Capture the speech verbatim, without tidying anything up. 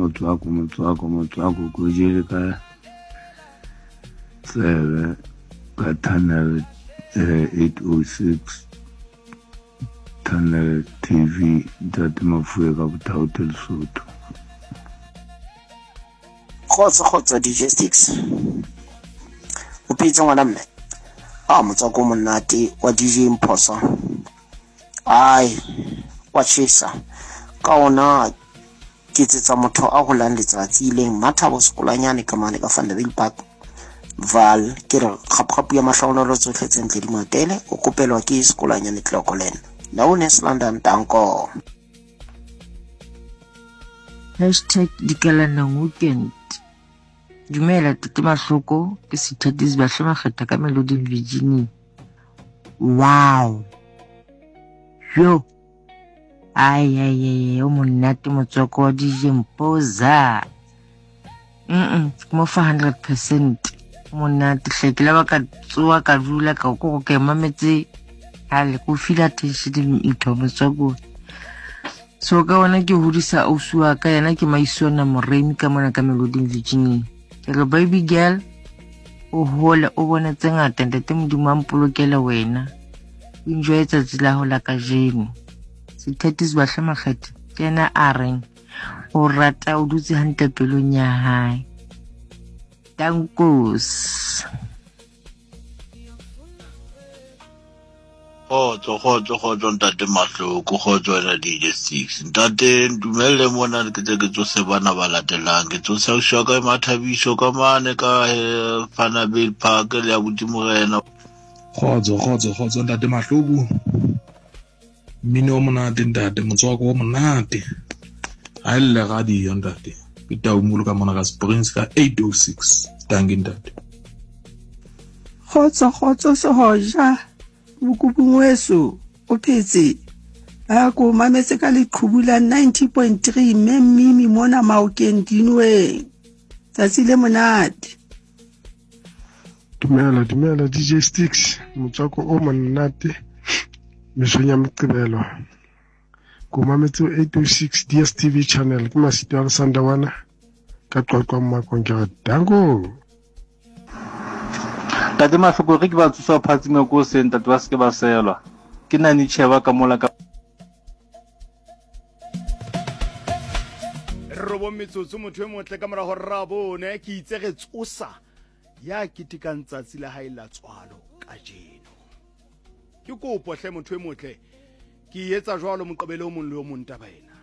Motswako, motswako, motswako ko jele ka tsebe ka channel eh, eight oh six channel T V Ntate Mafue ka Bothaote Lesotho. Kgotso kgotso D J Sticks. O phetse ngwana mme. Ah motswako monate wa D J Mphosa. Ai wa chesa. Ka ona ke tsetsa motho a holang letsatsi leng Mathabo Sekolanyane ka mane ka Vanderbilt Park. Val ke re kgapkgapu ya mahlonolo tsohle tse ntle di matele o kopelwa ke Sekolanyane Tlokolen. Naones London Tanko. Hashtag Dikalanang Weekend. Dumela Tete Mahloko ke Sithatisi Bahle Makgetha ka Meloding Virginia. Wow. Yo. Ai ai ai o monate motswako wa D J Mpoza. Mm mo fa hundred percent monate hle ke la ba ka tsoa ka dula ka go ke mametse ha le go feel attention ntho motswako. So ka ona ke hodisa ausi wa ka yena ke Maisona Moremi ka mona ka Meloding Virginia. Ke re baby girl o hole o bone tse ngata ntate Modimo a mpolokele wena. O enjoy tsatsi la ho la kajeno. Sithatisi Bahle Makgetha ke yena a reng o rata o dutse hantle pelong ya hae. Dankos. Kgotso, kgotso, kgotso Ntate Mahloko, kgotso wena D J Six. Ntate ntumelle mona ke tle ke tsose bana ba latelang. Ke tsose ausi wa ka Mathabiso ka mane ka Vanderbilt Park le abuti Morena. Kgotso, kgotso, kgotso Ntate Mahloko. Mmino o monate ntate, motswako o monate. Ha e lle radio ntate. Ke Taumolo ka mona ka Springs ka eight oh six. Dankie ntate. Kgotso, kgotso Sehoja. Mokubung weso o phetse a ko mametse ka leqhubu la ninety point three mme mmimi mona Maokeng Dinweng. Tsatsi le monate. Dumela, dumela D J Sticks, motswako o monate mesong ya Moqebelo. Ko mametse eight oh six D S T V channel ke Masito a Sandawana ka Qwaqwa Mmakong ke re danko. Ntate Mahloko re ke ba tsosa phatsima ko seng ntate ba se ke ba selwa. Ke nna tjheba ka mola ka Robong metsotso motho e motle ka mora hore ra bone ke itse re tsosa ya ketekang tsatsi la hae la tswalo kajeno. Ke kopo hle motho e motle ke etsa jwalo moqebelo o mong le o mong taba ena.